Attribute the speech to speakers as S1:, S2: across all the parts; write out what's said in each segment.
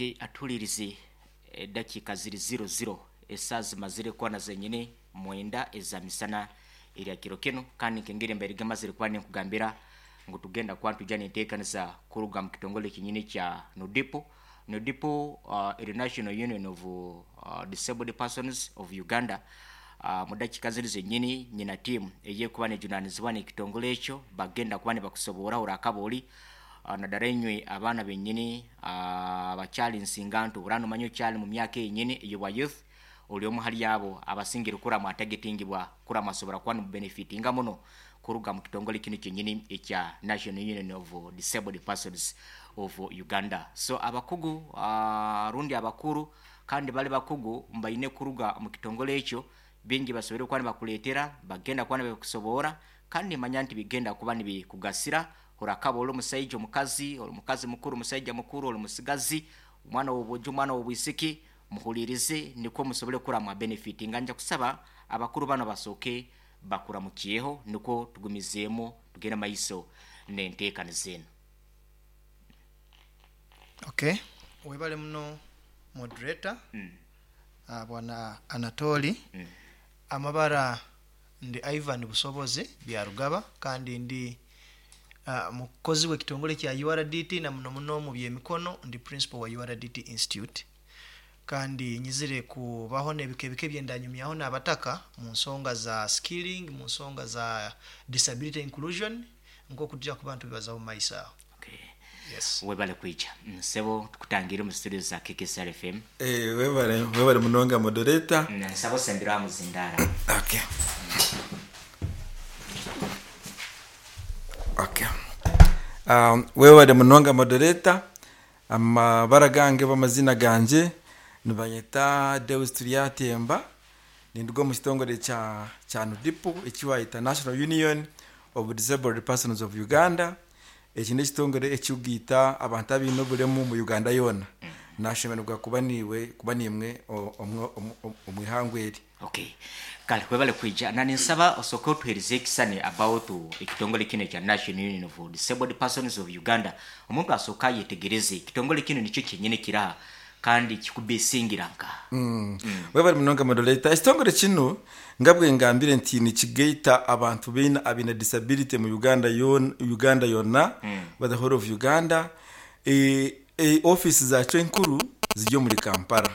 S1: Okay, atuhulirize, edakiika ziri 00, esaaha zimazire kuba na zenyini 9 eza misana erya kiro kinu, kandi nk'engeri mbaire gamazire kuba ninkugambira ngu tugenda kuba nitwija n'enteekaniza kuruga mu kitongole kyenyini kya NUDIPU. NUDIPU eri National Union of Disabled Persons of Uganda. Mu dakiika zinu zenyini nyina tiimu ey'ekuba nejunaanizibwa n'ekitongole ekyo, bagenda kuba nibakusoborraho orakaba oli naddala inywe abaana benyini abakyali nsinganto, oraba nomanya okyali mu myaka eyenyini ey'obwa youth, oli omu hali abo abasingire kurora mwatargetingibwa kurora mwasobora kuba nimubenefitinga muno kuruga mu kitongole kinu kyenyini ekya National Union of Disabled Persons of Uganda. So abakugu rundi abakuru kandi bali bakugu mbaine kuruga omu kitongole ekyo, bingi basoboire kuba nibakuleetera, bagenda kuba nibabikusoboora, kandi nimanya nti bigenda kuba nibikugasira. Orakaba oli omusaija, omukazi, oli mukazi mukuru, musaija mukuru, oli musigazi, omwana w'obwojo, omwana w'obwisiki, muhuliirize nukwo musobole kurora mwabenefitinga. Nja kusaba abakuru banu basooke bakuramukyeho nukwo tugumizeemu tugende maiso n'enteekaniza enu.
S2: Okay, webale muno moderator bwana Anatoli. Amabara ndi Ivan Busobozi Byarugaba kandi ndi mukozi w'ekitongole kya URDT na muno muno omu by'emikono ndi principal wa URDT Institute. Kandi nyizire kubaho n'ebika ebika ebyendanyumyaho n'abataka mu nsonga za skilling, mu nsonga za disability inclusion nk'oku tuja kuba nitubibazaho mu maiso aho.
S1: Okay.
S2: Yes.
S1: Webale kwija nsebo, tukutangire omu studio za KKSR FM.
S3: Eh, webale webale munonga moderator.
S1: Nsaba osembere aha muzindaara.
S3: Okay. Okay. Webale munonga moderator. Amabara gange oba amazina gangye nibanyeta Deus Turyatemba, ninduga omu kitongore kya kya NUDIPU eki bayeta National Union of Disabled Persons of Uganda. Eki n'ekitongore ekikugaita abantu abaine oburemu omu Uganda yoona. Nashemererwa kuba niiwe kuba niimwe omu ihangwe eri.
S1: Okay. Kale webale kwija. Na ninsaba osooke otuheereze ekisani about ekitongole kinu ekya National Union of Disabled Persons of Uganda. Omuntu asooke ayetegereze ekitongole kinu nikyo kyenyini kiraha kandi kikubesingira nkaha.
S3: Webale munonga moderator. Ekitongore kinu nga bwengambire nti nikigaita abantu baine abaine disability mu Uganda yoona Uganda yona oba the whole of Uganda. Office zakyo enkuru ziri omuri Kampala.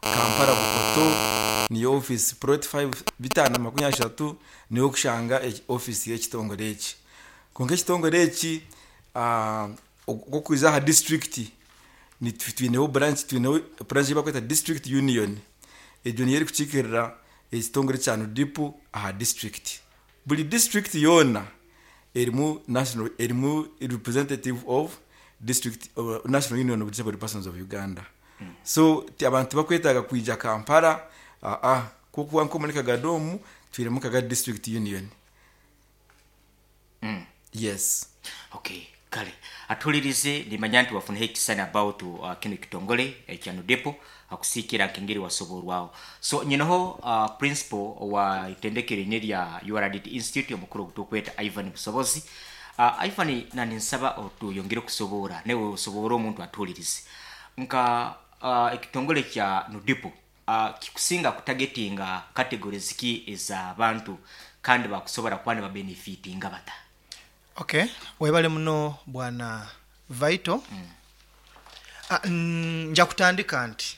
S3: Kampala Bukoto niyo ofiisi plot 5 530 niho orikushanga ofiisi y'ekitongore eki. Kwonka ekitongore eki okwija aha disiturikiti twineho branch twineho branch ei barikweta district union egyo niyo erikukiikirira ekitongore kya NUDIPU aha disiturikiti. Buri disiturikiti yoona erimu national erimu representative of district National Union of Disabled Persons of Uganda. So abantu tibakwetaaga kwija Kampala aa kuba nk'omuri Kagadi omu twinemu Kagadi District Union. Yes.
S1: Okay, kale atuhulirize, nimanya nti wafunaho ekisani about kinu ekitongole ekya NUDIPU akusiikira nk'engeri wasoborwaho. So nyineho principal wa itendekero eri erya URDT Institute omukuru ogu tukweta Ivan Busobozi. Ivan, na ninsaba otuyongere kusoboora naiwe osoboore omuntu atuhulirize nka ekitongole kya NUDIPU kikusinga kutagetinga categories ki ez'abantu kandi bakusobora kuba nibabenefitinga bata?
S2: Okay, webale muno bwana Vital. Nja kutandika nti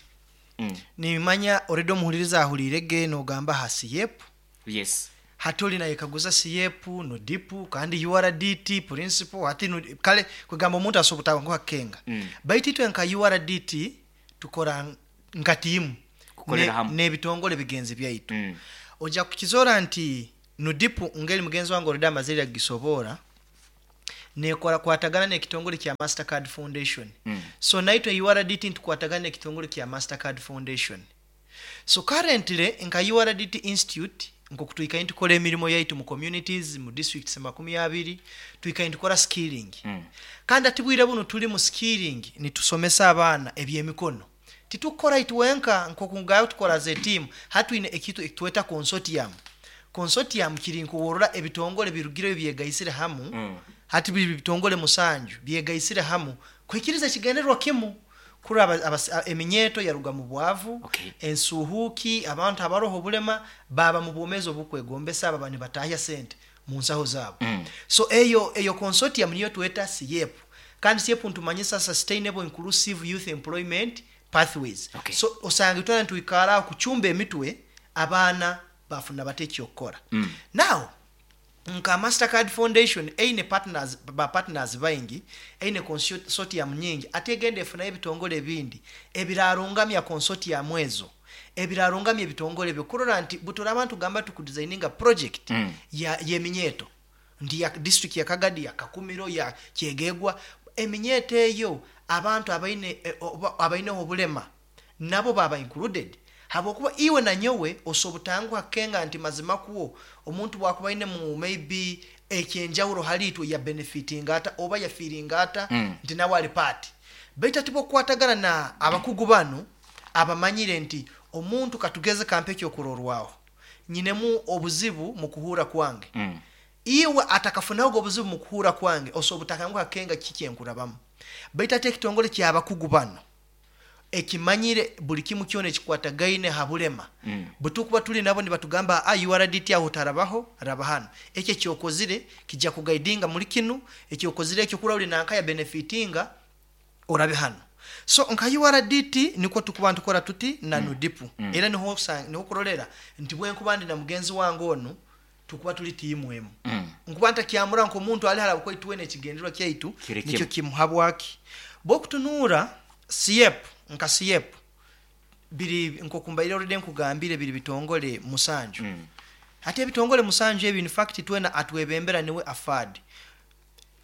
S2: nimanya already omuhuliriza ahuliire ge nogamba aha SIEP.
S1: Yes.
S2: Hati ori nayekaguza SIEP, NUDIPU kandi URDT, principal hati kale kwegamba omuntu asobora obutabanguha kukenga. Baitu itwe nka URDT tukora nka tiimu
S1: Kukolera hamu.
S2: n'ebitongole bigenzi byaitu. Oja kukizoora nti NUDIPU ngeri mugenzi wange already amazire kugisoboora, nekora kwatagana n'ekitongole kya Mastercard Foundation. So naitwe URDT nitukwatagana n'ekitongole kya Mastercard Foundation. So currently nka URDT Institute nkoku twikaire nitukora emirimo yaitu mu communities, mu districts 20, twikaire nitukora skilling. Kandi hati bwire bunu turi mu skilling nitusomesa abaana eby'emikono. Titukukora itwenka nkoku ngayo tukora as a team, hati twine ekintu ekitweta consortium. Consortium kiri nkuworora ebitongole birugireyo byegaisire hamu, hati biri bitongole 7 byegaisire hamu kuhikiriza ekigendererwa kimu. Kurora eminyeto yaruga mu bwavu, ensuhuki, abantu abaroho obulema baba mu bwomezi obukwegombesa, baba nibatahya sente mu nsaho zaabo. So eyo consortium niyo tweta SIEP, kandi SIEP ntumanyisa Sustainable Inclusive Youth Employment Pathways. So osanga itwena nitwikaraho kucumba emitwe, abaana bafuna bata ekyokukora. Now nka Mastercard Foundation eine partners, ba partners baingi, eine consortium nyingi, ate egenda efunayo ebitongole ebindi ebirarungamya consortium ezo, ebirarungamya ebitongole ebyo, kurora nti buturaba ntugamba tukudesigninga project ya yeminyeto nti ya district ya Kagadi, ya Kakumiro, ya Kyegegwa, eminyeto eyo abantu abaine abaineho obulema nabo baba included, habwokuba iwe na nyowe osobutanguha kenga nti mazima kuwo omuntu bwakuba aine mu maybe ekyenjawulo hali itwe ya benefitinga ata oba yafiringa ata nti nawe ali part. Baitu ati bwokukwatagana na abakugu bano abamanyire nti omuntu, katugeze kampe ekyokurorwaho, nyinemu obuzibu mu kuhura kwange, iwe atakafunaho obuzibu mu kuhura kwange osobutanguha kenga kiki enkurabamu. Baitu ate ekitongole kyabakugu bano ekimanyire buli kimu kyona ekikwatagaine ha bulema, bwetukuba tuli nabo nibatugamba, "Ah, URDT aho tarabaho, raba hano, ekyo ekyokozire kijja kuguidinga muri kinu, ekyokozire ekyo kura uli nanka ya benefitinga, orabe hano." So nka URDT niko tukuba ntukora tuti na NUDIPU, era niho kurolera nti bwenkuba ndi na mugenzi wange onu tukuba tuli tiimu emu, nkuba ntakyamura nk'omuntu ali haraba kwaitu, wena ekigendererwa kyaitu
S1: Kiri
S2: nikyo
S1: kimu.
S2: kimu. Habwaki bwokutunuura SIEP, nka SIEP biri nkokumbaire already nkugambire, biri bitongole 7. Ate ebitongole 7 ebyo, in fact twena atwebembera niwe AFAD,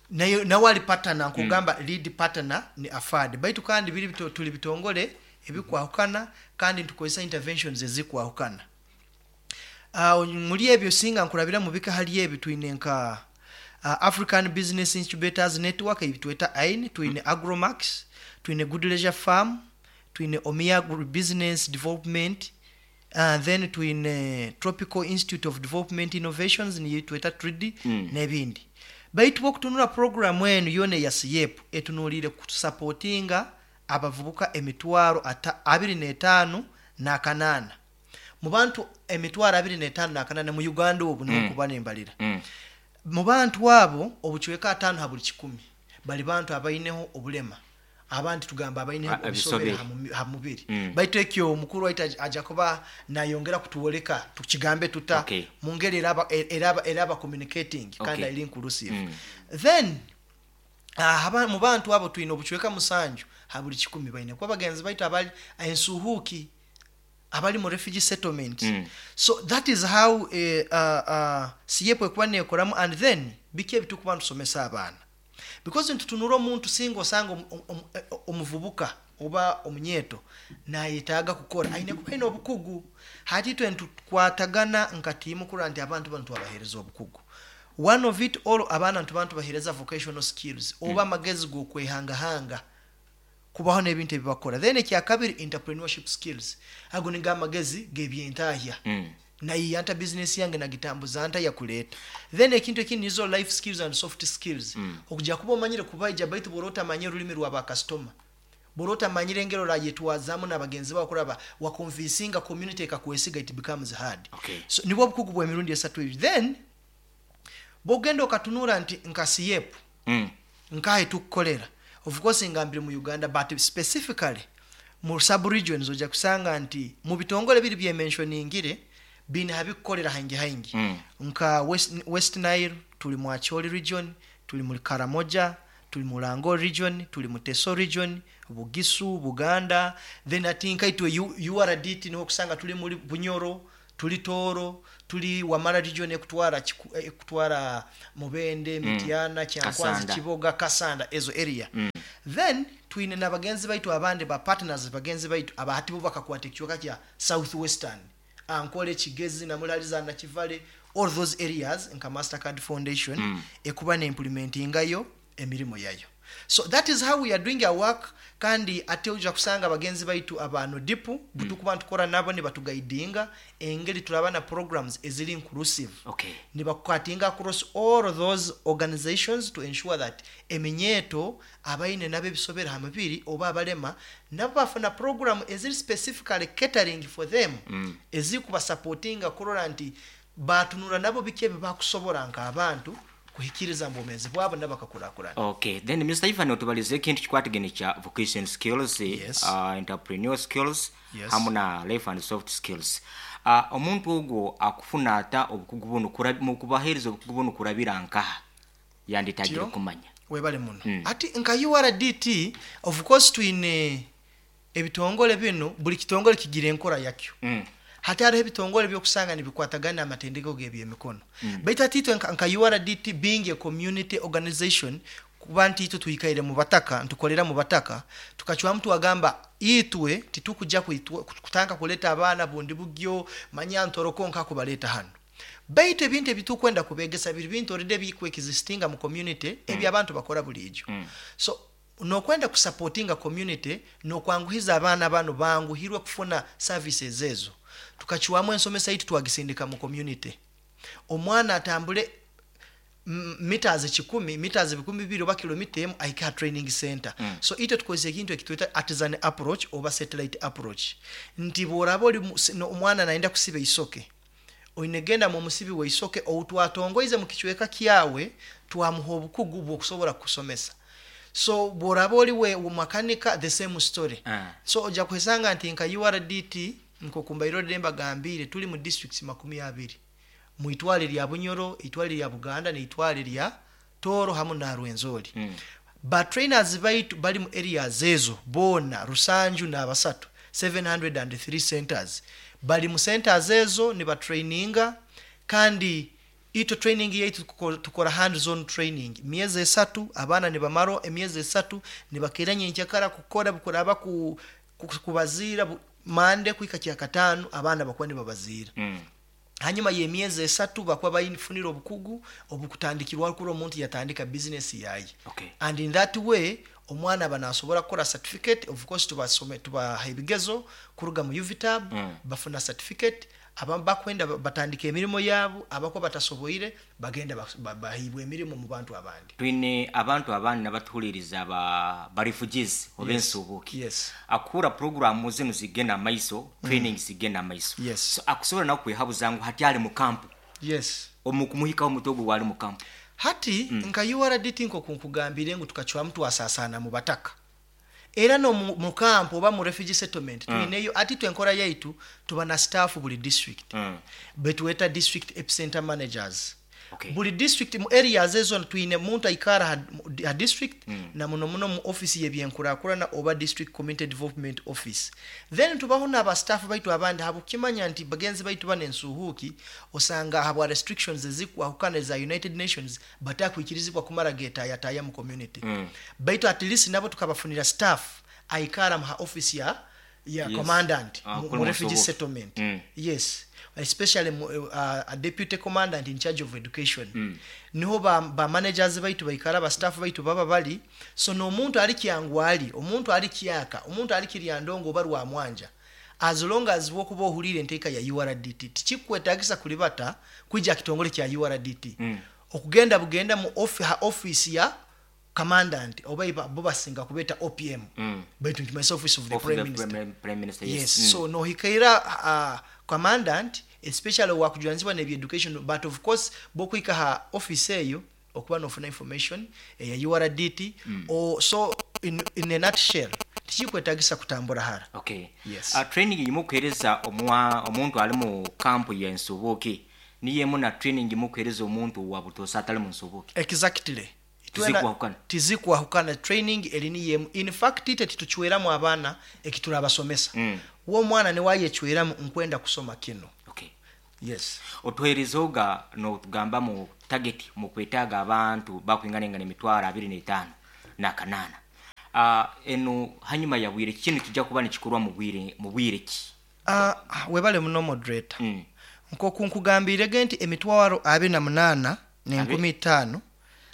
S2: nayo nawe ali partner, nkugamba lead partner ni AFAD, baitu kandi biri tuli bitongole ebikwahukana kandi ntukozesa interventions ezikwahukana. Muri ebyo singa nkurabira mu bika hali ebi twine nka African Business Incubators Network, ebi tweta AIN, twine Agromax, twine Good Leisure Farm, twine Omia Agri Business Development, then twine Tropical Institute of Development Innovations, niyo tweta TRIDI, n'ebindi. Baitu bwokutunula programu enu yona eya SIEP etunuulire kusupportinga abavubuka emitwaro 25,800. Mu bantu emitwaro 25,800 mu Uganda obu niho kuba nembalira, mu bantu abo obucweka 5 ha buli 100 bali bantu abaineho obulema, abandi tugamba abaineho
S1: ebisobere.
S2: Ebisobere ha mubiri. Baitu ekyo omukuru waitu aja kuba nayongera kutuwoleka tukigambe tuta mu ngeri eraba communicating kandi eri inclusive. Then mu bantu abo twine obucweka 7 ha buli 100 baine kuba bagenzi baitu abali ensuhuki, abali mu refugee settlement. So that is how SIEP ekuba nekoramu. And then biki ebitukuba ntusomesa abaana? Because ntutunura omuntu singa osanga omuvubuka oba omunyeto nayetaaga kukora, aine kuba aine obukugu. Hati itwe ntukwatagana nka tiimu kurora nti abantu bano twabaheereza obukugu. One of it all, abaana ntuba ntubaheereza vocational skills oba amagezi g'okwehangahanga kubaho n'ebintu ebibakora. Then ekyakabiri, entrepreneurship skills, ago nigo amagezi g'ebyentahya, nayiya nta bizinesi yange, nagitambuza nta yakuleeta. Then ekintu ekindi nizo life skills and soft skills, okujja kuba omanyire kubaija, baitu bw'oba otamanyire orulimi rwa bakasitoma, bw'oba otamanyire engeri orayetwazamu n'abagenzi bawe kuraba waconvincinga community ekakwesiga, it becomes hard. So nibwo obukugu bw'emirundi esatu ebyo. Then bwogenda okatunura nti nka SIEP, nkahe tukukolera, of course ngambire mu Uganda, but specifically mu sub regions ojja kusanga nti mu bitongole biri byementioningire bine habikukolera haingi haingi. Nka West Nile tuli mu Acholi region, tuli mu Karamoja, tuli mu Lango region, tuli mu Teso region, Bugisu, Buganda. Then ati nkaitwe URDT niho kusanga tuli muri Bunyoro, tuli Toro, tuli Wamala region ekutwara Mubende, Mityana, Kyankwanzi,
S1: Kasanda.
S2: Kiboga, Kasanda, ezo area. Then twine n'abagenzi baitu abandi ba partners, bagenzi baitu abahati bo bakakwata ekicweka kya south western, Ankole, Kigezi, Namulaliza, Nakivale, all those areas, nka Mastercard Foundation ekuba neimplementingayo emirimu yayo. So that is how we are doing our work. Kandi ate oja kusanga bagenzi baitu aba NUDIPU butukuba ntukora nabo nibatuguidinga engeri turaba na programs eziri inclusive. Nibakukatinga across all those organizations to ensure that eminyeto abaine nabo ebisobera ha mubiri oba abalema nabo bafuna program eziri specifically catering for them, ezikubasupportinga kurora nti batunura nabo biki ebi bakusobora nk'abantu kuhikiriza mu bwomeezi bwabo nabo bakakurakurana.
S1: Okay, then Mr. Ivan, otubalize ekintu kikwatagene kya vocation skills, entrepreneur skills, hamu na life and soft skills. Omuntu ogwo akufuna ata obukugu buno mu kubaheereza obukugu buno kurabira nkaha yanditagire
S2: Tyo.
S1: kumanya?
S2: Webale muno. Ati nka URDT, of course twine ebitongole bino, buli kitongole kigira enkora yakyo. Hati hariho ebitongole byokusanga nibikwatagana amatendeko g'ebyemikono. Baitu ati itwe nka URDT being a community organization, kuba nti itwe twikaire mu bataka, ntukolera mu bataka, tukacwamu twagamba itwe titukujja kutanga kuleta abaana bundi bugyo manya ntoroko nka kubaleta hano. Baitu ebintu ebitukwenda kubegesa biri bintu already bikweexistinga mu community, ebyo abantu bakora bulijo. So nokwenda kusupportinga community nokwanguhiza abaana bano banguhirwe kufuna services ezo. Tukachuamu ensomesa yitu twagisindika mu community. Omwana atambule meters 10, meters 20 oba kilomita emu ahike ha training center. So ite tukozesa ekintu ekitweta artisan approach oba satellite approach. Nti bw'oraba oli no, omwana naenda kusiba isoke, oine genda mu musibi w'isoke outwatongoize mu kichweka kyawe, twamuha obukugu bw'okusobola kusomesa. So bw'oraba oli we makanika, the same story. So ojja kwesanga nti nka URDT nkokumbairo demba gambire tuli mu districts 20, mu itwale lya Bunyoro, itwale lya Buganda ne itwale lya Toro hamu na Rwenzori. Ba trainers baitu bali mu areas ezo bona Rusanju na Basatu, 703 centers. Bali mu centers ezo ni ba traininga, kandi ito training yaitu tukora hands on training miezi 3, abaana ni bamaro emyezi 3 nibakeranya enkyakara kukora bukuraba kubazira mande kuika kya katano abaana bakuba nibabazira. Hanyuma y'emyezi 3 bakuba bayifunira obukugu obukutandikirwa kuri omuntu yatandika business yaye. And in that way omwana banasobora kukora certificate. Of course tubasome tubaha ebigezo kuruga mu UVTAB, bafuna certificate, abamu bakwenda batandika emirimu yabo, abako batasoboire bagenda bahibwa emirimu mu bantu abandi.
S1: Twine abantu abandi nabatuhuliriza ba refugees oba ensuubuki. Akura program zino zigenda maiso, training zigenda maiso. So akusobola nawe kwehabuza ngu hati ali mu kampu. Omukumuhikaho omutogo wali mu kampu.
S2: Hati nka URDT nko kunkugambire ngu tukacwamu twasasana mu bataka. Era no mu kampu oba mu refugee settlement, tuineyo ati twenkora yaitu tuba na staff buli district. Betuweta district epicenter managers. Buli district mu areas ezo tuine muntu aikara ha district, na muno muno mu office y'ebyenkurakurana oba district community development office. Then tubaho n'aba staff baitu abandi habukimanya nti bagenzi baitu bane nsuhuki osanga habwa restrictions ezikwahukana za United Nations batakwikirizibwa kumara geta yataya mu community. Baitu at least nabo tukabafunira staff aikara mu ha office ya commandant
S1: Kuri
S2: mu refugee
S1: Musubuki.
S2: settlement. Yes, especially a deputy commandant in charge of education. Niho ba managers baitu baikara, ba staff baitu baba bali. So no omuntu ali kyangwali, omuntu ali kyaka, omuntu ali kiryandongo oba rwa mwanja, as long as wokuba ohulire enteeka ya URDT tikikwetagisa kulibata kwijja kitongole kya URDT. Okugenda bugenda mu ha office ya commandant oba bo basinga kubeta OPM. Baitu nti myself office of the
S1: Of
S2: Prime
S1: the
S2: Minister.
S1: Prime Minister, yes.
S2: Yes. So no hikaira commandant especially wakujulanizibwa n'ebya education, but of course bokwika ha office eyo okuba nofuna information eya URDT. O, so in a nutshell tikikwetagisa kutambura hara. Yes.
S1: Training yimukuhereza omuntu ali mu kampu ya Nsubuki niyemu na training yimukuhereza omuntu wa butosa atali mu Nsubuki.
S2: Exactly.
S1: Tizikwahukana.
S2: Tizikwahukana training eri yemu. In fact ite tituchweramu abaana ekiturabasomesa. Wo mwana ne wayechweramu nkwenda kusoma kino. Yes.
S1: Otuherezoga no tugamba mu target mu kwetaga abantu bakwinganengana emitwaro abiri n'etaano na kanana. Eno hanyuma ya bwire kino kijja kuba nikikorwa mu bwire ki?
S2: Webale muno moderator. Nkoku nkugambire nti emitwaro abiri na munaana n'enkumi itaano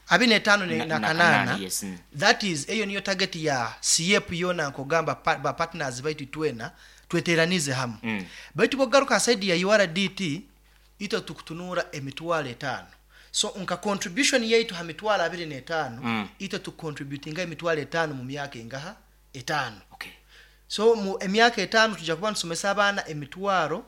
S2: 25
S1: Na
S2: na kanaana.
S1: Kanaana, yes.
S2: That is, eyo niyo target ya CF yona, nkogamba ba partners baitu twena tweteranize hamu. Baitu bwogaruka ha side ya URDT, itwe tukutunura 50,000. So nka contribution yaitu ha 25,000, itwe tucontributinga 50,000 mu myaka engaha? 5. So mu emyaka 5 tujja kuba ntusomesa abaana emitwaro,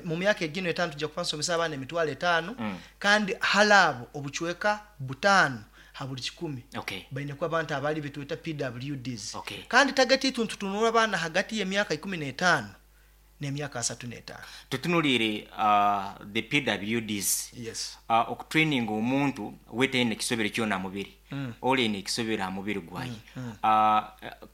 S2: mu myaka egino 5 tujja kuba ntusomesa abaana 50,000. Kandi hali abo obucweka 5 ha buli 100 baine kuba abantu abali betweta PWDs. Kandi target yitu ntutunura abaana hagati y'emyaka 15 n'emyaka 35.
S1: Tutunuliire the PWDs.
S2: Yes.
S1: Okutraining omuntu wetaine ekisobero kyona mubiri, olina ekisobero ha mubiri gwaye,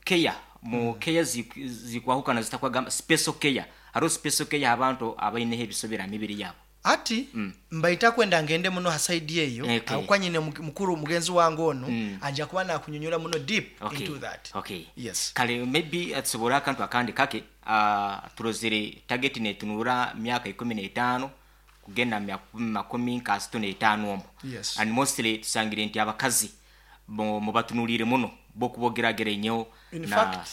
S1: care mu care zikwahukana zitakwagamba special care, hariho special care abantu abaineho ebisobero ha mibiri yabo.
S2: Ati mbaita kwenda ngende muno ha side eyo, okay. Nyine mukuru mugenzi wange ono ajja kuba nakunyonyola muno deep into that. Yes.
S1: Kale, maybe tusobora akantu akandi kake. Turozere target netunura myaka 15 kugenda 35 omwo. And mostly tusangire nti abakazi mubatunulire muno bokubogeragera enyo
S2: In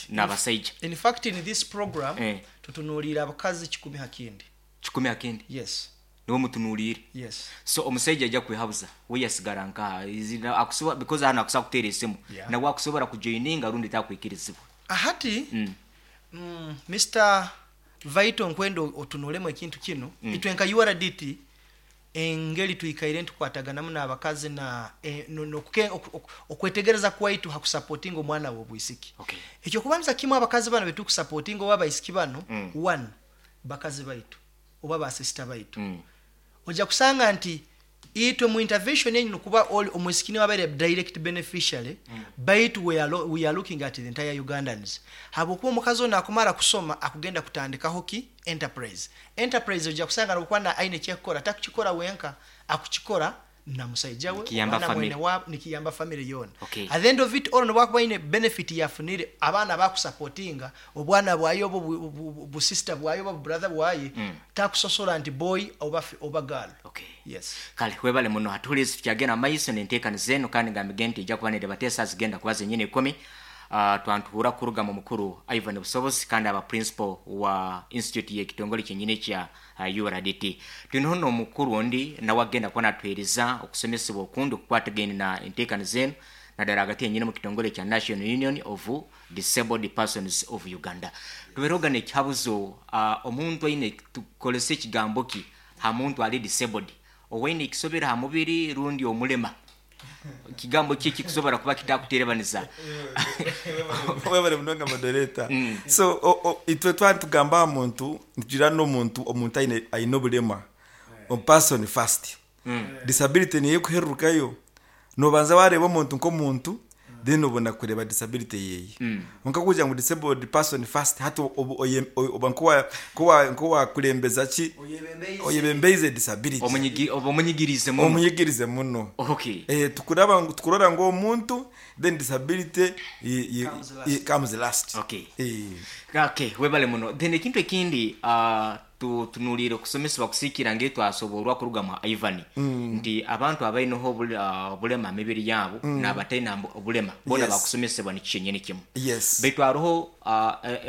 S1: n'abasaija.
S2: In fact, in this program tutunuulira abakazi 100 ha kindi.
S1: 100 akindi?
S2: Yes.
S1: Niwo mutunuulire?
S2: Yes.
S1: So omusajja ajja kwehabuza we yasigara nkaha akusobola, because hano akusobola kuteera esimu, nawe akusobola kujoininga rundi takwikirizibwa?
S2: Ahati Mr Vaito, nkwenda otunulemu ekintu kino. Itwe nka URDT, engeri twikaire ntukwataganamu n'abakazi na okwetegereza kwaitu hakusupportinga omwana w'obwisiki. Ekyo kubanza kimu, abakazi bano betukusupportinga oba abaisiki bano, one, bakazi baitu oba basisita baitu. Ojja kusanga nti itwe mu intervention enyu nokuba omwisiki niwe abaire direct beneficiary, baitu we are looking at the entire Ugandans, habwokuba omukazi ono akumara kusoma akugenda kutandikaho ki? Enterprise. Enterprise ojja kusanga nokuba na aine kyekukora, takukikora wenka, akukikora na musaija we
S1: Nikiyamba
S2: oba na
S1: family.
S2: mwene wabo, nikiyamba family yona. At the end of it all, nobwakuba aine benefit yafunire, abaana bakusupportinga, obwana bwaye oba busista bwaye oba brother bwaye, takusosola nti boy oba girl. Yes.
S1: Kale, webale muno. Hatuhulizi, tukyagenda maiso nenteekaniza eno, kandi ngambige nti ejja kuba nerebateesa zigenda kuba zenyini 10. Twantuhura kuruga mu mukuru Ivan Busobozi, kandi aba principal wa institute y'ekitongole kyenyini kya URDT. Tuliho n'omukuru ondi nawe agenda kuba natuheereza okusomesebwa okundi okukwatagene na enteekaniza eno, naddala hagati yenyini mu kitongole kya National Union of Disabled Persons of Uganda. Tubeerogana ekihabuzo, omuntu aine, tukolese ekigambo ki ha muntu ali disabled, owaine ekisobero ha mubiri rundi omulema? Kigambo ki kikusobora kuba kitakuterebaniza?
S3: Webale munonga, moderator. So itwe twali tugamba aha muntu, nitugira n'omuntu, omuntu aine obulema, person first. Disability niyo ekuherurukayo. Nobanza wareba omuntu nk'omuntu, then obona kureba disability yeye. Nka kugira ngu disabled person first, hati oba nkowakulembeza ki, oyebembeize disability.
S1: Oba omunyigirize muno.
S3: Omunyigirize muno. Tukuraba tukurora ngu omuntu, then disability
S2: Comes last.
S3: Comes last.
S1: Okay, webale muno. Then ekintu ekindi, tunuliire okusomesebwa kusiikira ngetwasoborwa kuruga mu Ivan nti abantu abaineho obulema mibiri yabo n'abataina obulema bona bakusomesebwa nikyenyini kimu. Baitu hariho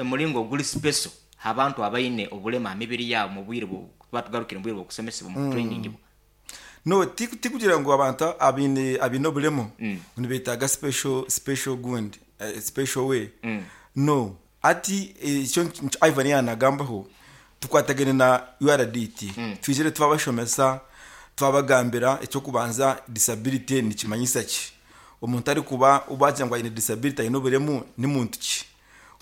S1: omulingo oguli special abantu abaine obulema mibiri yabo mu bwire batugarukire mu bwire bw'okusomesebwa mu training bwo.
S3: No, tikugira ngu abantu abaine obulemu nibetaaga special gundi, special way. No, ati ekyo Ivan yanagambaho, tukwatagane na URDT, twizire twabashomesa, twabagambira ekyokubanza disability nikimanyisa ki, omuntu arikuba ubagira ngu aine disability, aine obulemu, ni muntu ki,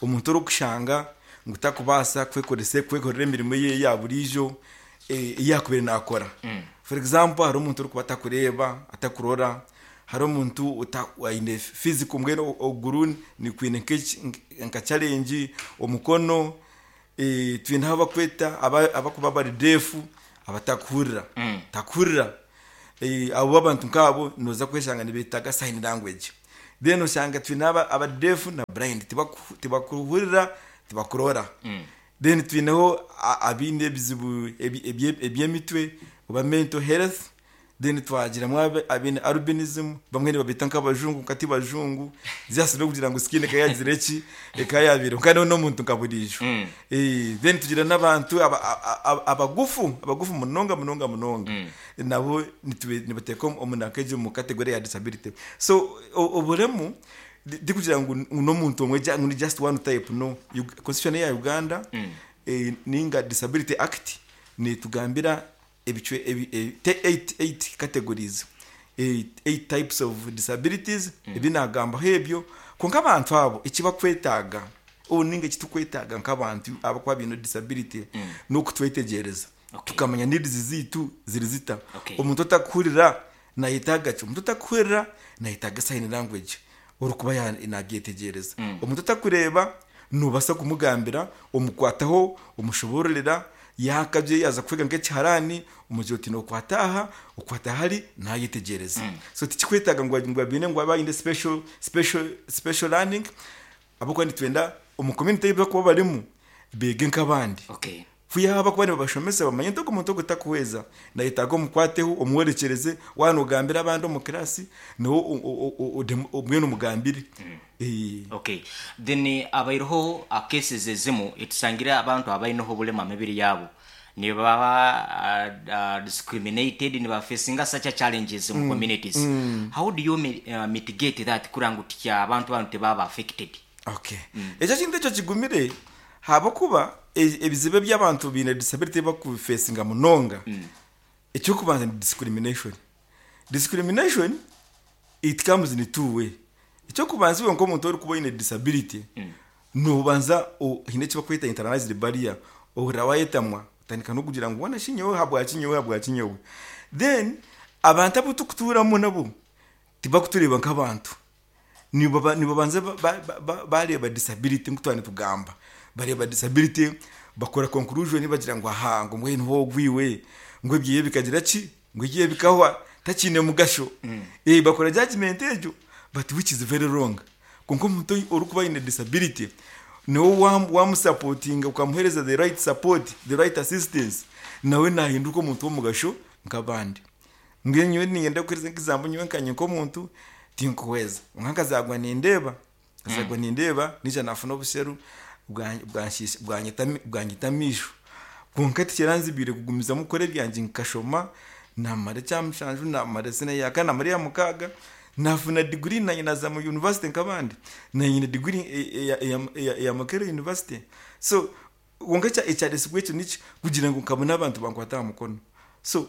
S3: omuntu orikushanga ngu takubaasa kwekoresa, kwekorera emirimo ye ya buriijo eyakubire nakora. For example, hari omuntu orikuba atakureeba, atakurora, hari omuntu aine physical, mbwenu oguru nikwine nka challenge, omukono, twineho abakweta abakuba bari deaf, abatakuhurira, takuhurira. Abo abantu nkabo noza kweshanga nibetaga sign language. Then osanga twine aba deaf na blind, tibakuhurira, tibakurora. Then twineho abaine ebizibu ebyemitwe oba mental health. Then twagiramu abaine albinism, bamwe nibabeta nk'abajungu nka bajungu, just n'okugira ngu skin eka yagira eki eka yabiire kandi n'omuntu nka buriijo. Then tugira n'abantu abagufu, abagufu munonga munonga munonga, nabo nibateeka omu nanka egi omu category ya disability. So oburemu tikugira ngu n'omuntu omwe ngu ni just one type, no. Constitution eya Uganda ninga Disability Act netugambira ebicwe eight categories, eight types of disabilities ebi nagambaho ebyo. Kwonka abantu abo eki bakwetaaga ninga eki tukwetaaga nk'abantu abakuba baine disability n'okutwetegyereza, tukamanya needs zaitu ziri zita. Omuntu otakuhurira nayetaaga ki? Omuntu otakuhurira nayetaaga sign language orikuba nabyetegyereza. Omuntu otakureeba nobaasa kumugambira, omukwataho, omushoboororera, yaakabye yaaza kwega nk'ekiharani, omugira oti nokwata aha, okwata hari, nayetegyereza. So tikikwetaaga ngu abaine ngu abe aine special special special learning, ahabw'okuba nitwenda omu community ei barikuba barimu beege nk'abandi. Kwihaho abakuba nibabashomesa bamanye nti ogu omuntu ogu takuhweza, nayetaaga omukwateho, omworekyereze, waaba nogambira abandi omu class, niwe mbwenu omugambire.
S1: Okay. Then abaireho cases ezimu etusangire abantu abaineho obulema aha mibiri yaabo nibaba discriminated, nibafacinga such a challenges omu communities. How do you mitigate that kurora ngu abantu banu tibaba affected?
S3: Okay. Ekyo ekintu ekyo kigumire ahabw'okuba ebizibu ebi abantu baine disability bakufeesinga munonga, eky'okubanza ni discrimination. Discrimination it comes in two way. Eky'okubanza iwe nk'omuntu orikuba oine disability, noobanza haine eki barikweta internalized barrier, ohurira waayetamwa otandika n'okugira ngu hoona shi nyowe habwaki nyowe habwaki nyowe. Then abantu abu turikutuuramu nabo tibarikutureeba nk'abantu. Nibabanza bareeba disability nku twaba nitugamba, bareeba disability bakora conclusion bagira ngu aha ngu mbwenu ogu iwe ngu ebyeye bikagira ki, ngu ebyeye bikahwa takiine mugasho. Bakora judgement egyo but which is very wrong. Kwonka omuntu orikuba aine disability nawe wamusapotinga okamuheereza the right support, the right assistance, nawe nahinduka omuntu w'omugasho nk'abandi. Mbwenu nyowe niinyenda kukuheereza nk'example nyowe nkanye nk'omuntu tinkuhweza kwonka nkazaarwa nindeeba, nkazaarwa nindeeba naija naafuna obusheru bwanyita amaisho kwonka tikiranzibiire kugumizamu kukora ebyangye nkashoma naamara ekya mushanju naamara siniya ya kana naamara eya mukaaga naafuna diguri naanye naaza mu yunivasite nk'abandi naanye nyine diguri eya Makerere University so Kwonka ekyaresirwe ekyo niki? Kugira ngu nkabone abantu bankwate aha mukono. So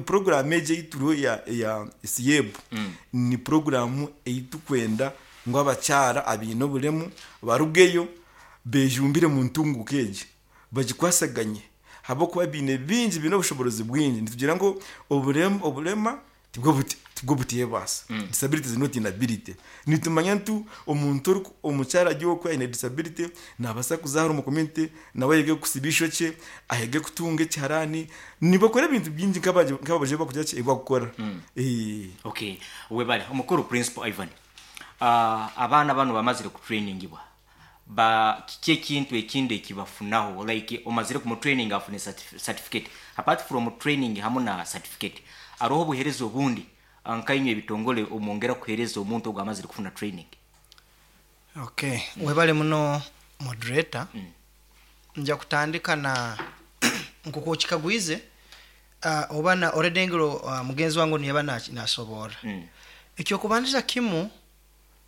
S3: puroguraamu egi ei turiho eya SYEB ni puroguraamu ei turikwenda ngu abakyara abaine oburemu barugeyo bejumbire omu ntunguka egi, bagikwasaganye ahabw'okuba baine bingi, baine obushoboorozi bwingi. Nitugira ngu oburema tibwo buteebaasa, disability is not inability. Nitumanya ntu omuntu omukyara ari okwe aine disability nabaasa kuza ahari omu community nawe ayege kusiba eishokye, ayege kutunga ekiharani, nibakora ebintu bingi nk'ababaija ebi barikugira ki, ebi barikukora.
S1: Okay, webale omukuru Principal Ivan. Abaana banu bamazire kutrainingibwa, ba kiki ekintu ekindi ekibafunaho like omazire kumu training afune certificate apart from training hamu na certificate aroho obuhereza obundi nkainywe ebitongole omwongera kuhereza omuntu ogu amazire kufuna training?
S2: Okay, webale muno moderator. Nja kutandika na nkoku okikagwize oba na already engero mugenzi wange onu yaba nasoborra. Ekyokubandiza kimu,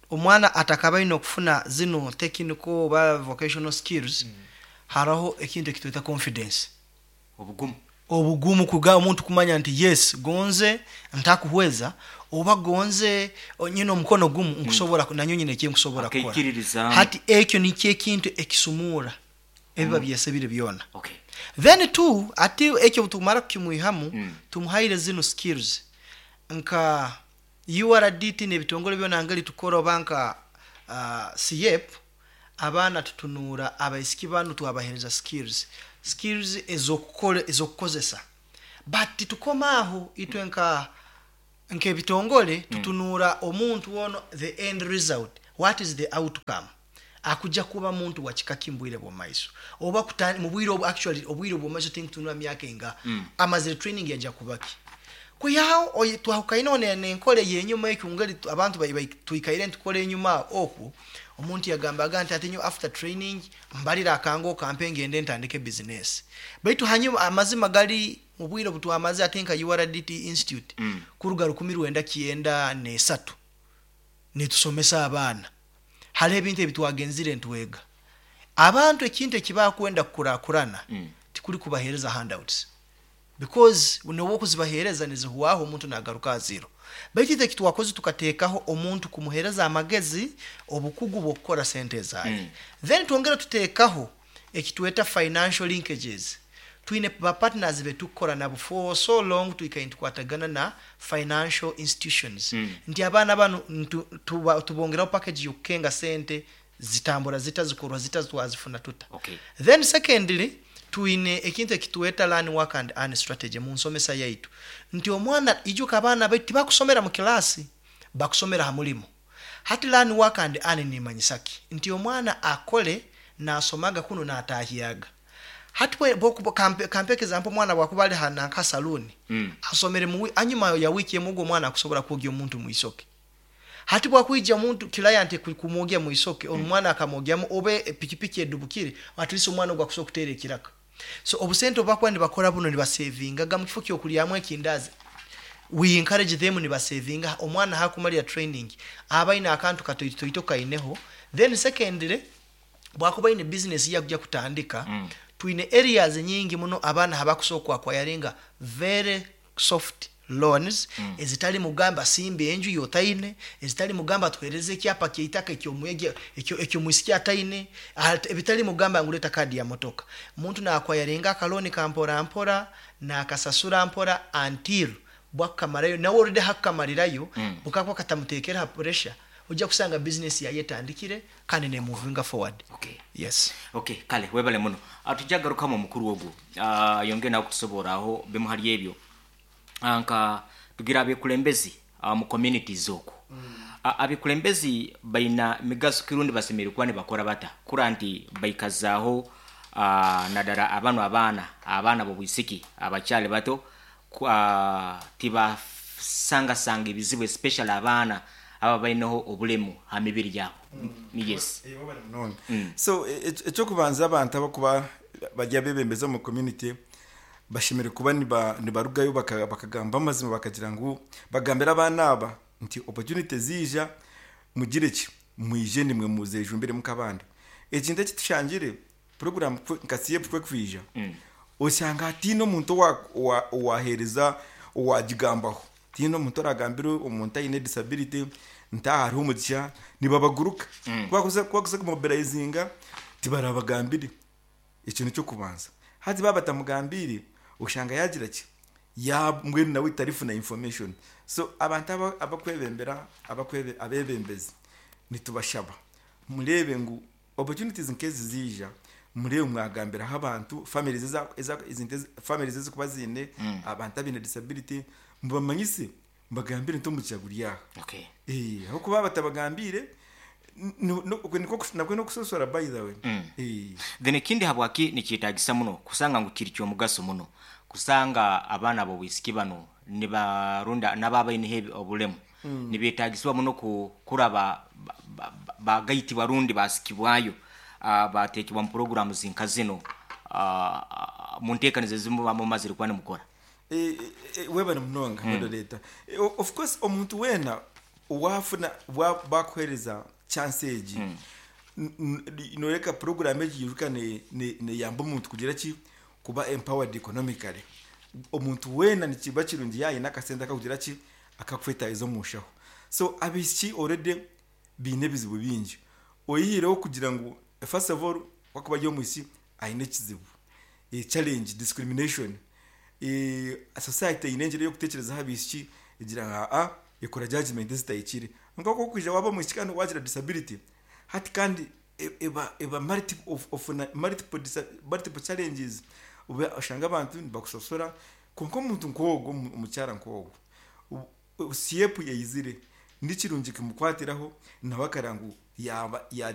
S2: omwana atakabaine okufuna zinu technical oba vocational skills, haroho ekintu ekitweta confidence.
S1: Obugumu.
S2: Obugumu kuga omuntu kumanya nti yes gonze ntakuhweza oba gonze nyine omukono gumu nkusobora nanyowe nyine ekinkusobora kukora.
S1: Akaikiririzaamu.
S2: Hati ekyo nikyo ekintu ekisumuura ebiba byesebire byona.
S1: Okay.
S2: Then two, ati ekyo obutumara kukimwihamu, tumuhaire zinu skills nka URDT n'ebitongole byona ngeri tukora oba nka SYEP, abaana tutunuura abaisiki banu twabahereza skills, skills ez'okukora ez'okukozesa but titukoma aho itwe nka nk'ebitongole tutunuura omuntu ono the end result, what is the outcome, akuja kuba muntu wa kika ki mubwire bw'omumaiso oba mubwire obu actually obwire obw'omumaiso tinkutunura myaka engaha, amazire training yaja kuba ki? Kwihaho twahukaineho n'enkora ey'enyuma ekyo, ngeri abantu twikaire nitukora enyuma okwo. Omuntu yagambaga nti ati nyo after training mbalira akango kampe ngende ntandike business. Baitu hanyuma amazima gali, mu bwire obutwamaze ate nka URDT Institute, kuruga 1993 nitusomesa abaana, hariho ebintu ebitwagenzire ntwega. Abantu ekintu ekibakwenda kukurakurana, tikuli kubahereza handouts, because noba okuzibahereza nizihwaho, omuntu nagaruka zero. Baitu itwe ekitwakoze, tukateekaho omuntu kumuhereza amagezi, obukugu bw'okukora sente zaye. Then twongera tuteekaho ekitweta financial linkages. Twine ba partners betukukora nabo for so long, twikaire nitukwatagana na financial institutions, nti abaana banu tubongeraho package y'okukenga sente zitambura zita, zikorwa zita, twazifuna tuta. Then secondly, twine ekintu ekitweta learn, work and earn strategy mu nsomesa yaitu, nti omwana, ijuka abaana baitu tibakusomera mu kilasi, bakusomera ha mulimu. Hati learn, work and earn nimanyisa ki? Nti omwana akole nasomaga kuno natahyaga. Hati kampe example, omwana bwakuba ali nanka saluni, asomere anyuma ya wiki emu, ogwo omwana akusobola kwogya omuntu mwisoke. Hati bwakwija omuntu client kumwogya mwisoke, omwana akamwogyamu, oba pikipiki edubukire, at least omwana ogwo akusobola kuteera ekiraka. So obusente obubakuba nibakora buno, nibasevingaga mu kifo kyokulyamu ekindazi. We encourage them, nibasevinga. Omwana hakumalira training aba aine akantu katoitoito kaineho. Then secondly, bwakuba aine business yakuja kutandika, twine areas nyingi muno abaana habakusobola kwacquiringa very soft loans, ezitali mugamba simba enju yotaine, ezitali mugamba tuhereze ekyapa kyeitaka ekyomwisiki ataine, ebitali mugamba ngu leta kadi ya motoka. Omuntu nacquiringa akaloan kampora mpora, nakasasura mpora until bwakukamarayo. Nawe already hakukamarirayo, bukakuba katamutekera pressure, ojja kusanga business yaye etandikire kandi nemovinga forward. Yes.
S1: Okay, kale webale muno. Tujja garukamu omukuru ogwo, yongere nawe kutusoboraho bimu hali ebyo. Nka tugira abekulembezi mu communities okwo. Abekulembezi baina migaso kirundi, basemereire kuba nibakora bata kura nti baikazaaho, naddala abano abaana b'obwisiki abakyali bato, tibasangasanga ebizibu, especially abaana aba baineho obulemu ha mibiri yabo? Yes.
S3: Wabale munonga. So ekyokubanza, abantu abakuba bari abebembezi omu community bashemereire kuba nibarugayo bakagamba amazima, bakagira ngu bagambire abaana aba nti opportunity ziija, mugire ki, mwije nimwe muzejumbiremu nk'abandi. Ekintu ekitushangire, program nka CF kwekwija, osanga hatiine omuntu owaheereza owagigambaho, tiine omuntu oragambire omuntu aine disability nti aha hariho omugisha. Nibabaguruka kubakuza kumobilizinga, tibarabagambire. Ekyo nikyokubanza. Hati baba batamugambiire, oshanga yagira ki, mbwenu nawe tarifuna information. So abantu abakwebembera, abebembezi, nitubashaba mureebe ngu opportunities nk'ezi ziija, mureebe mwagambiraho abantu, families families ezikuba ziine abantu abaine disability, mubamanyise, mubagambire nti omugisha guri aha. Ahabw'okuba batabagambiire, nakwe n'okusosora, by the way.
S1: Then ekindi, habwaki nikyetagisa muno kusanga ngu kiri kyomugaso muno kusanga abaana b'obwisiki bano nibarunda nabo abaineho obulemu nibetagisibwa muno kuraba bagaitibwa rundi basikibwayo, batekebwa mu programs nka zino, mu nteekaniza ezimu mumazire kuba nimukora?
S3: Webale munonga, moderator. Of course omuntu weena wafuna bakuhereza chance egi, noreka program egi yiruka neyamba omuntu kugira ki, kuba empowered economically. Omuntu weena nikiba kirungi yayina akasente akakugira ki, akakwetahiza omu nshaho. So abaishiki already biine ebizibu bingi, oyihireho kugira ngu first of all wakuba ari omwishiki aine ekizibu, challenge, discrimination. Society eine engyera ey'okuteekyerezaho abaishiki, egira ngu aa ekora judgment ezitahikire. Nk'oku okwija waaba omwishiki kandi wagira disability, hati kandi eba multiple, ofuna multiple challenges. Oba oshanga abantu nibakusosora. Konka omuntu nk'ogwo, omukyara nk'ogwo, CF eyizire, ni kirungi kumukwatiraho nawe akareba ngu yaba yagira.